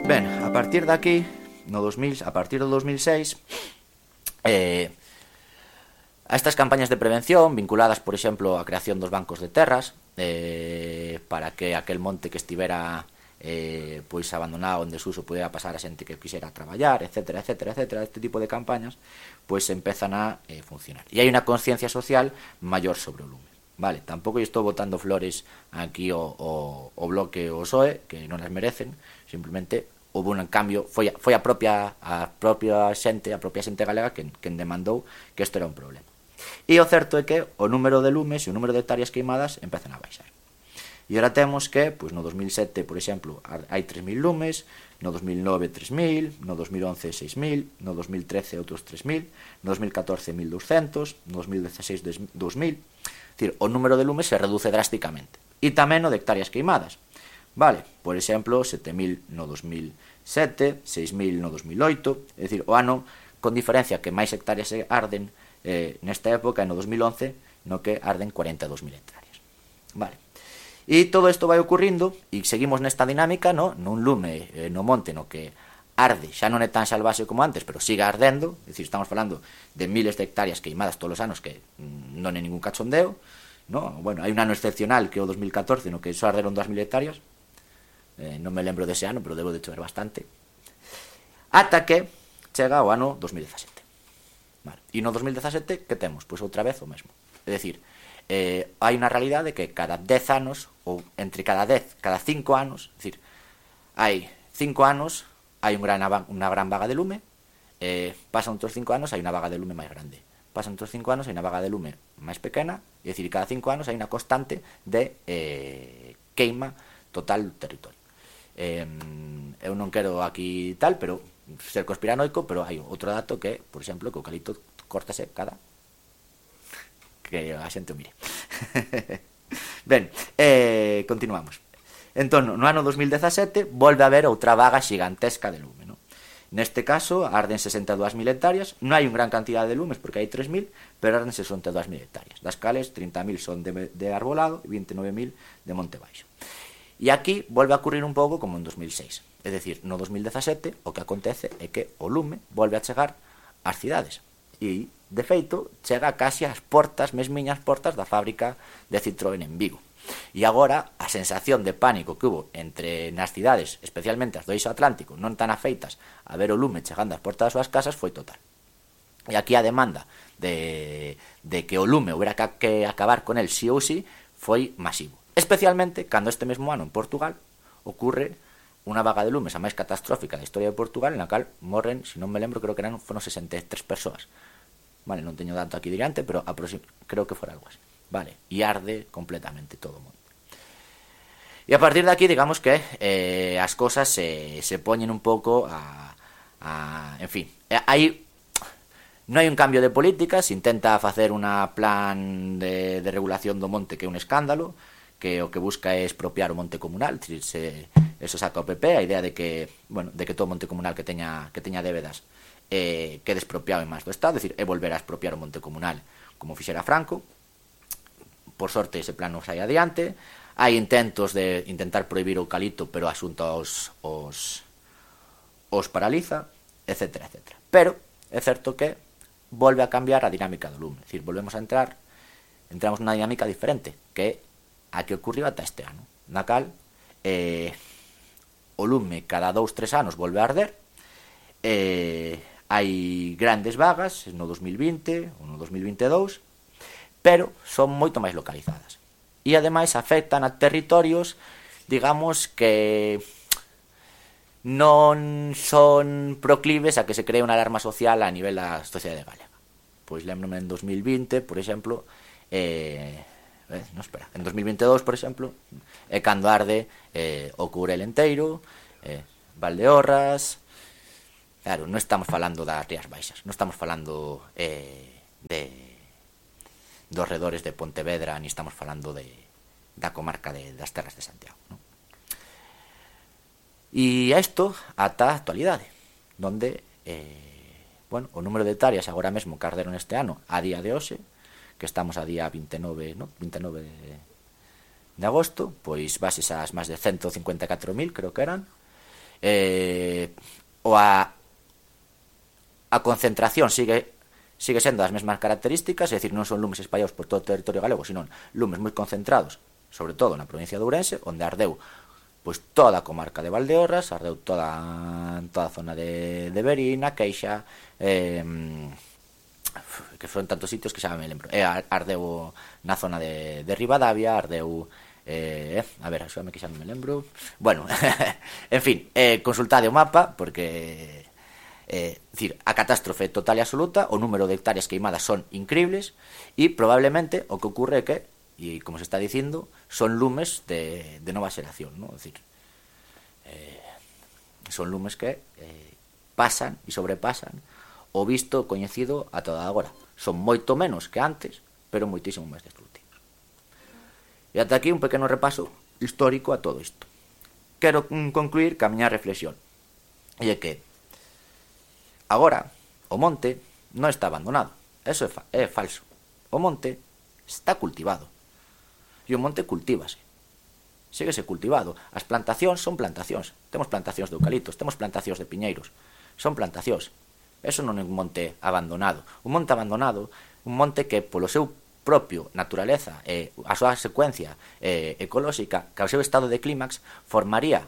Ben, a partir de aquí, no 2000, a partir do 2006, a estas campañas de prevención vinculadas, por exemplo, á creación dos bancos de terras, para que aquel monte que estivera pois abandonado en desuso pudera pasar a xente que quixera traballar, etcétera, etcétera, etcétera, este tipo de campañas pois empezan a funcionar. E hai unha conciencia social maior sobre o lume. Vale, tampouco estou botando flores aquí o bloque o PSOE, que non as merecen, simplemente houve un cambio, foi a propia xente galega quen demandou que isto era un problema. E o certo é que o número de lumes e o número de hectáreas queimadas empezan a baixar. E ora temos que, pois no 2007, por exemplo, hai 3.000 lumes, no 2009 3.000, no 2011 6.000, no 2013 outros 3.000, no 2014 1.200, no 2016 2.000. É dicir, o número de lumes se reduce drásticamente. E tamén o de hectáreas queimadas. Vale, por exemplo, 7.000 no 2007, 6.000 no 2008, é dicir, o ano con diferencia que máis hectáreas arden nesta época, no 2011, no que arden 42.000 hectáreas. Vale. E todo isto vai ocurrindo e seguimos nesta dinámica, no? Nun lume no monte no que arde, xa non é tan salvaxe como antes, pero sigue ardendo, é dicir, estamos falando de miles de hectáreas queimadas todos os anos que non é ningún cachondeo, no? Bueno, hai un ano excepcional que é o 2014 no que só arderon 2.000 hectáreas, non me lembro dese ano, pero debo de chover bastante, ata que chega o ano 2017. Vale. E no 2017 que temos? Pois outra vez o mesmo, é dicir, hai unha realidade que cada 10 anos, ou entre cada 10, cada 5 anos, é dicir, hai 5 anos hai unha gran vaga de lume, pasan outros 5 anos hai unha vaga de lume máis grande, pasan outros 5 anos hai unha vaga de lume máis pequena, é dicir, cada 5 anos hai unha constante de queima total do territorio. Eu non quero aquí tal, pero ser conspiranoico, pero hai outro dato que, por exemplo, que o eucalipto córtase cada que a xente o mire. Ben, continuamos. Entón, no ano 2017 volve a haber outra vaga xigantesca de lume, no? Neste caso, arden 62.000 hectáreas, non hai unha gran cantidad de lumes porque hai 3.000, pero arden 62.000 hectáreas, das cales 30.000 son de arbolado e 29.000 de monte baixo. E aquí volve a ocurrir un pouco como en 2006, é dicir, no 2017 o que acontece é que o lume volve a chegar ás cidades e, de feito, chega casi ás portas, mesmiñas portas da fábrica de Citroën en Vigo. E agora a sensación de pánico que hubo entre nas cidades, especialmente as do eixo atlántico, non tan afeitas a ver o lume chegando ás portas das súas casas, foi total. E aquí a demanda de que o lume houbera que acabar con el sí ou sí foi masivo. Especialmente cando este mesmo ano en Portugal ocurre unha vaga de lumes a máis catastrófica da historia de Portugal, en la cal morren, se non me lembro, creo que foron 63 persoas. Vale, non teño dato aquí diante, pero creo que fora algo así. Vale, e arde completamente todo o mundo. E a partir de aquí, digamos que as cosas se poñen un pouco en fin, non hai un cambio de política, se intenta facer unha plan de regulación do monte que é un escándalo, que o que busca é expropiar o monte comunal, eso saca o PP, a idea de que, bueno, de que todo monte comunal que teña débedas quede expropiado en máis do Estado, é dicir, é volver a expropiar o monte comunal como fixera Franco. Por sorte ese plan non sai adiante, hai intentos de intentar prohibir o eucalipto, pero a Xunta os paraliza, etcétera, etcétera. Pero é certo que volve a cambiar a dinámica do lume, é dicir, entramos nunha dinámica diferente, que é a que ocurriu ata este ano, na cal o lume cada 2-3 anos volve a arder, hai grandes vagas no 2020 ou no 2022, pero son moito máis localizadas. E ademais afectan a territorios, digamos, que non son proclives a que se cree unha alarma social a nivel da sociedade galega. Pois lembrome en 2020, por exemplo, en 2022, por exemplo, é cando arde o Courel enteiro, Valdeorras. Claro, non estamos falando das Rías Baixas, non estamos falando dos redores de Pontevedra, ni estamos falando da comarca das terras de Santiago, non? E a isto ata a actualidade, donde bueno, o número de hectáreas agora mesmo que arderon este ano a día de hoxe, que estamos a día 29 de agosto, pois bases as máis de 154.000, creo que eran, a concentración sigue sendo das mesmas características, é dicir, non son lumes espallados por todo o territorio galego, sino lumes moi concentrados, sobre todo na provincia de Ourense, onde ardeu pois toda a comarca de Valdeorras, ardeu toda a zona de Verín, a Queixa, que foron tantos sitios que xa me lembro, ardeu na zona de Ribadavia, ardeu a ver, axúdame que xa non me lembro, bueno, en fin, consultade o mapa, porque decir, a catástrofe total e absoluta, o número de hectáreas queimadas son increíbles, e probablemente o que ocurre é que, e como se está dicindo, son lumes de nova xeración, ¿no? Es decir, son lumes que pasan e sobrepasan o visto coñecido a toda agora. Son moito menos que antes, pero moitísimo máis destructivos. E ata aquí un pequeno repaso histórico a todo isto. Quero concluir ca miña reflexión, e é que agora o monte non está abandonado. Eso é falso. O monte está cultivado. E o monte cultívase. Síguese cultivado. As plantacións son plantacións. Temos plantacións de eucaliptos, temos plantacións de piñeiros. Son plantacións. Eso non é un monte abandonado. Un monte abandonado, un monte que polo seu propio naturaleza e a súa secuencia ecolóxica, que ao seu estado de clímax, formaría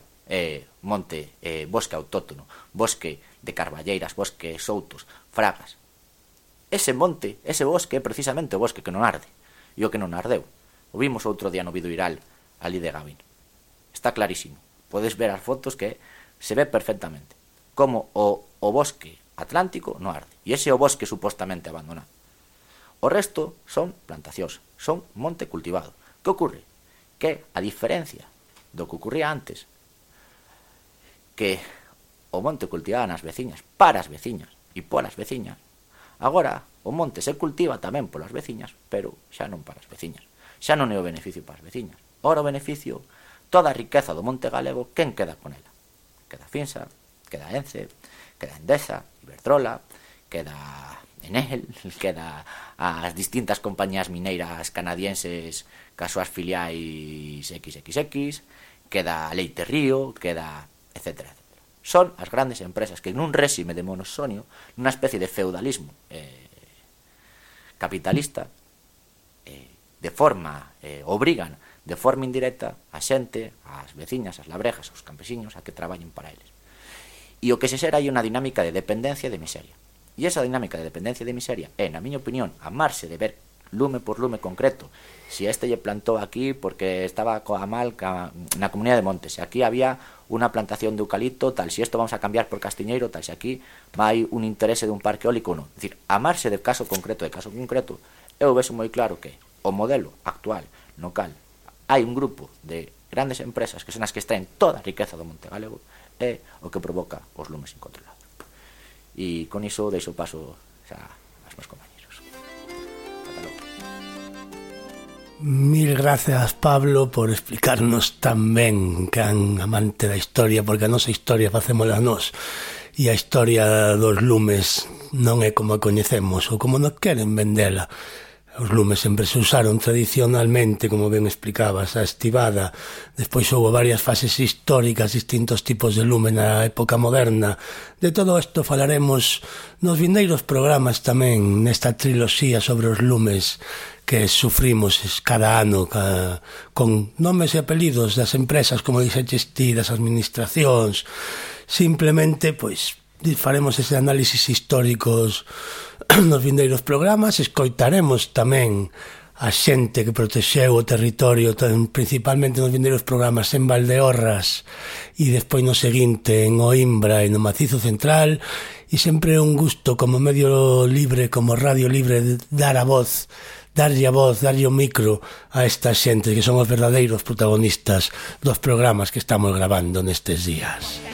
monte, bosque autóctono, bosque de carballeiras, bosque soutos, fragas. Ese monte, ese bosque é precisamente o bosque que non arde. E o que non ardeu. O vimos outro día no Vidoiral, ali de Gavin. Está clarísimo. Podes ver as fotos que se ve perfectamente como o bosque atlántico non arde. E ese é o bosque supostamente abandonado. O resto son plantacións, son monte cultivado. Que ocurre? Que, a diferencia do que ocurría antes, que o monte cultivaba nas veciñas, para as veciñas e polas veciñas, agora o monte se cultiva tamén polas veciñas, pero xa non para as veciñas. Xa non é o beneficio para as veciñas. Ora o beneficio, toda a riqueza do monte galego, quen queda con ela? Queda Finsa, queda Ence, queda Endesa, Iberdrola, queda Enel, queda as distintas compañías mineiras canadienses cas súas filiais XXX, queda Leite Río, queda etcétera, etcétera. Son as grandes empresas que nun réxime de monosonio, nunha especie de feudalismo capitalista, obrigan de forma indirecta a xente, as veciñas, as labrejas, os campesiños a que traballen para eles. E o que se xera hai unha dinámica de dependencia e de miseria. E esa dinámica de dependencia e de miseria é, na miña opinión, amarse de ver lume por lume concreto. Si este lle plantou aquí porque estaba coa mal na comunidade de Montes, se aquí había unha plantación de eucalipto, tal, si isto vamos a cambiar por castiñeiro, tal, si aquí vai un interese dun parque eólico ou non. É dicir, amarse de caso concreto, eu vexo moi claro que o modelo actual no cal hai un grupo de grandes empresas que son as que extraen toda a riqueza do monte galego é o que provoca os lumes incontrolados. E con iso deixo paso xa aos meus compañeros. Ata logo. Mil grazas, Pablo, por explicarnos tan ben can amante da historia, porque a nosa historia facémola nós, e a historia dos lumes non é como a coñecemos ou como nos queren vendela. Os lumes sempre se usaron tradicionalmente, como ben explicabas, a estivada. Despois houve varias fases históricas, distintos tipos de lume na época moderna. De todo isto falaremos nos vindeiros programas tamén, nesta triloxía sobre os lumes que sufrimos cada ano con nomes e apelidos das empresas, como dixeches ti, das administracións. Simplemente, pois, faremos ese análisis históricos nos vindeiros programas, escoitaremos tamén a xente que protexeu o territorio, principalmente nos vindeiros programas en Valdeorras e despois no seguinte en Oimbra e no Macizo Central, e sempre é un gusto como medio libre, como radio libre, darlle a voz, darlle o micro a esta xente que son os verdadeiros protagonistas dos programas que estamos gravando nestes días.